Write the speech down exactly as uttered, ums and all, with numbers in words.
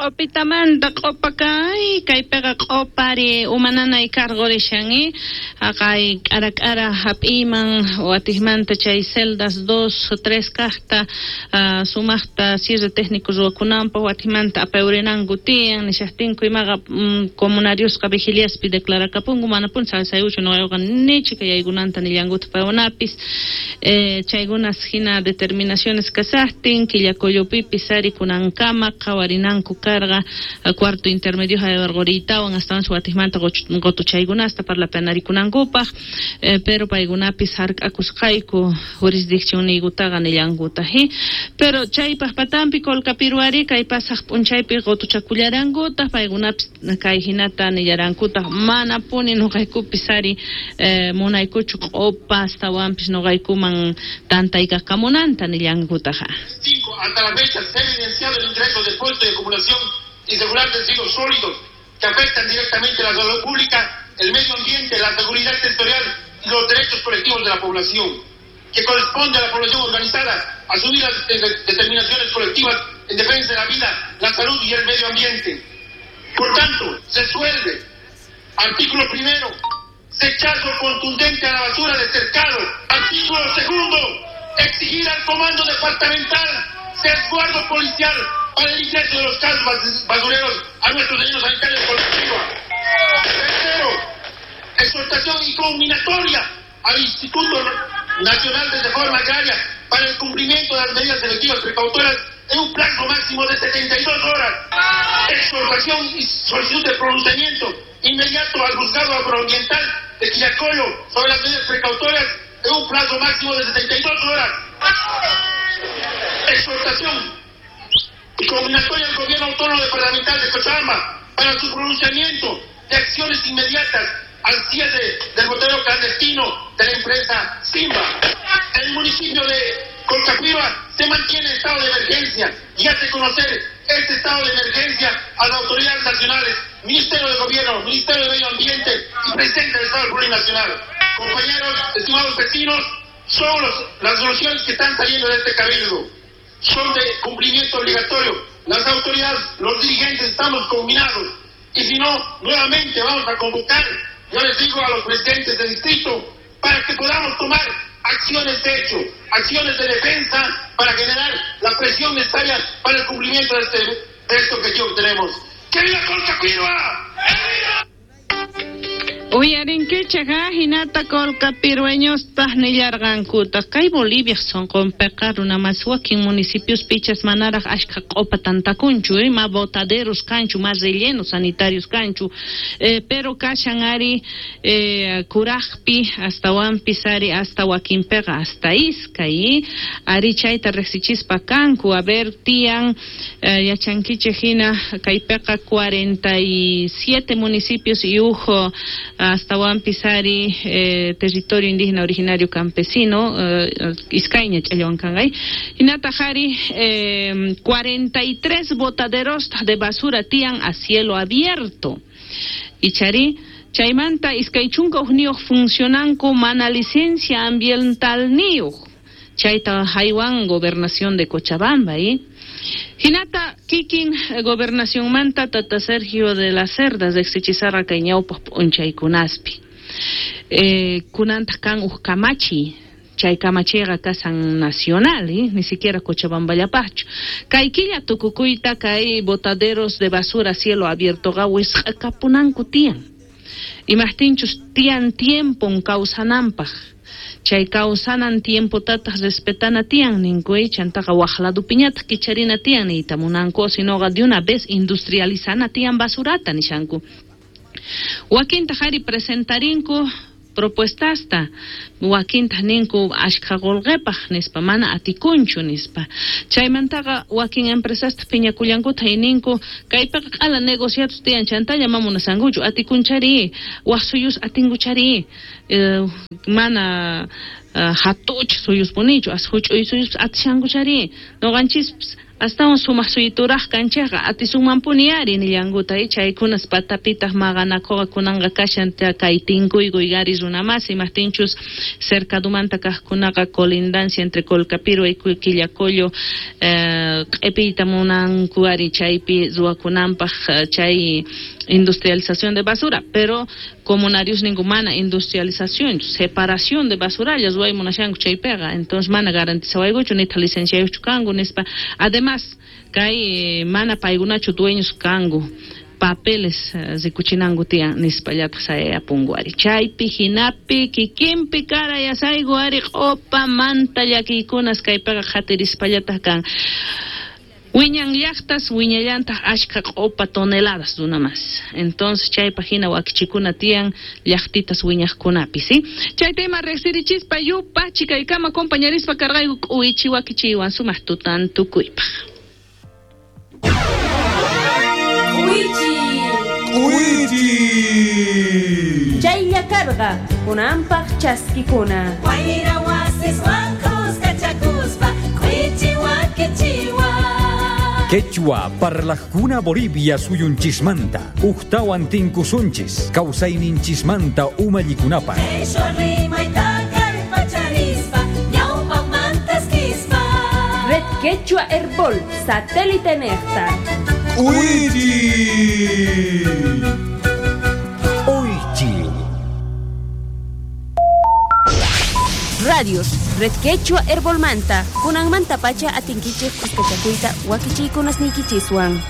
Q'opitamanta q'opa kay kaypiqa q'opari umananay karqurishan haqay k'ara k'ara hap'iyman watikmanta chay celdas dos tres kaqta uh, sumaqta cierre técnico ruwakunanpaq watikmanta apayurinanku tiyan nishaqtinku imaqa mm, comunariosqa vigiliaspi declarakapunku manapuni saysayuchu nuqayuqa nichika yaykunanta nillankuta paykunapis eh, chaykunas hina determinaciones kasaqtin Quillacollopipis ari kunankama qhawarinanku karqa cuarto intermedio haywarquriytawan astawan watikmanta qutuchaykunasta parlapanarikunankupaq eh, pero paykunapis hark'akusqayku jurisdiccionniykutaqa nillankuta hi pero chaypaq patampi Colcapiruari kay pasaq p'unchaypi qutuchakullarankutaq paykunapis kay hinata nillarankutaq manapuni nuqaykupis ari eh, munaykuchu q'opa astawanpis nuqaykuman tantaykakamunanta nillankutaqa. Hasta la fecha se ha evidenciado el ingreso de puestos de acumulación irregular de residuos sólidos que afectan directamente la salud pública, el medio ambiente, la seguridad territorial y los derechos colectivos de la población, que corresponde a la población organizada asumir las determinaciones colectivas en defensa de la vida, la salud y el medio ambiente. Por tanto, se resuelve, artículo primero, rechazo contundente a la basura de cercado. Artículo segundo, exigir al comando departamental resguardo policial para el ingreso de los casos basureros a nuestros rellenos sanitarios colectivos. Tercero, exhortación y conminatoria al Instituto Nacional de Reforma Agraria para el cumplimiento de las medidas selectivas precautorias en un plazo máximo de setenta y dos horas. Exhortación y solicitud de pronunciamiento inmediato al juzgado agroambiental de Quillacollo sobre las medidas precautorias en un plazo máximo de setenta y dos horas. Exhortación y conminatoria al Gobierno Autónomo Departamental de Cochabamba para su pronunciamiento de acciones inmediatas al cierre del botadero clandestino de la empresa Simba. En el municipio de Colcapirhua se mantiene estado de emergencia y hace conocer este estado de emergencia a las autoridades nacionales, Ministerio de Gobierno, Ministerio de Medio Ambiente y Presidente del Estado Plurinacional. Compañeros, estimados vecinos, son los, las soluciones que están saliendo de este cabildo. Son de cumplimiento obligatorio. Las autoridades, los dirigentes estamos combinados. Y si no, nuevamente vamos a convocar, yo les digo a los presidentes del distrito, para que podamos tomar acciones de hecho, acciones de defensa para generar la presión necesaria para el cumplimiento de este, de este objetivo que tenemos. ¡Que viva Colcapirhua! Uyarinkichik hinata colcapirueñospaq nillarqankutaq kay Bolivia sonqonpiqa runamas wakin municipios pichas manaraq ashka q'opa tantakunchu eh, ma botaderos kanchu ma rellenos sanitarios kanchu eh, pero kashan ari eh, kuraqpi astawanpis ari hasta wakinpiqa hasta iskay ari chayta riqsichispa kanku a ver tiyan eh, yachankichik hina kaypiqa cuarenta y siete municipios y ujo hasta Pisari, eh, territorio indígena originario campesino, eh, iskayña ch'allwan kanqay. Hinata jari, eh, cuarenta y tres botaderos de basura tiyan a cielo abierto. Ichari, chaymanta iskay chunka hukniyuq funcionanku mana licencia ambiental niyuq. Chayta haywan gobernación de Cochabamba, ¿eh? Hinata kikin gobernación manta tata Sergio de las Cerdas de Xichisarra kay ñawpaq p'unchaykunaspi. Eh, kunantaq kan uj kamachi, chay kamachiqa kasan nacional, ¿eh? Ni siquiera Cochabamballapaqchu. Kay killa tukukuyta kay botaderos de basura cielo abierto qa wisq'akapunanku tiyan. Imaqtinchus tiyan tiempon kawsananpaq. Chay kawsanan tiempo tataq respetana tiyan ninku chantaqa waq ladupiñataq kicharina tiyan niyta munanku sinoqa de una vez industrializana tiyan basurata nishanku. Wakintaq ari presentarinku propuestasta wakintaq ninku ashkha qullqipaq nispa mana atikunchu nispa chaymantaqa wakin empresasta phiñakullankuta ninku kaypiqa q'ala negociados tiyan chantalla ma munasankuchu atikunchari waq suyus atinkuchari eh, mana uh, hatuch suyuspunichu as huch'uy suyus atishankuchari nuqanchis Astawan sumaq suyituraq kanchikqa atisunmanpuni ari nillankuta chaykunas patapitaq maqanakuqa kunanqa kashan kay tinkuykuy ari runamasi imaqtinchus cercadumanta kaqkunaqa colindancia entre Colcapirhua y Quillacollo eh, q'ipiyta munanku ari chaypi ruwakunanpaq chay industrialización de basura, pero comunarios ninku mana industrialización, separación de basuralla ruway munashanku chaypiqa, entonces mana garantizawaykuchu nitaq licenciayuqchu kanku nispa. Además kay mana paykunachu dueños kanku, papeles rikuchinanku tiyan nispallataq sayayapunku ari. Chaypi hinapi kikinpi kara yasayku ari q'upamanta llakiykunas kaypiqa qhatirispallataq kan. Wiñan llaqtas wiñallantaq ashka q'upa toneladas runamas. Entonces chaypaq hina wakichikuna tiyan llaqtitas wiñaqkunapi, ¿sí? Chay tema riqsirichispa yupa chikaykama compañerispa karqayku k'uwichi wakichiwan sumaq tutan tukuypaq. K'uwichi. K'uwichi. Chaylla karqa kunanpaq chaskikuna. Wayra wasiswan kuskachakuspa k'uwichi wakichiwan. Quechua parlajkuna Bolivia suyunchismanta, ujtawan tinkusunchis, kawsayninchismanta umallikunapaq. Red Quechua Herbol, satélite nejta. ¡Uichi! Uichi. Radios, Red Quechua Herbolmanta, kunanmanta pacha atinkichej kuskachakuyta wakichiykunasniykichiswan.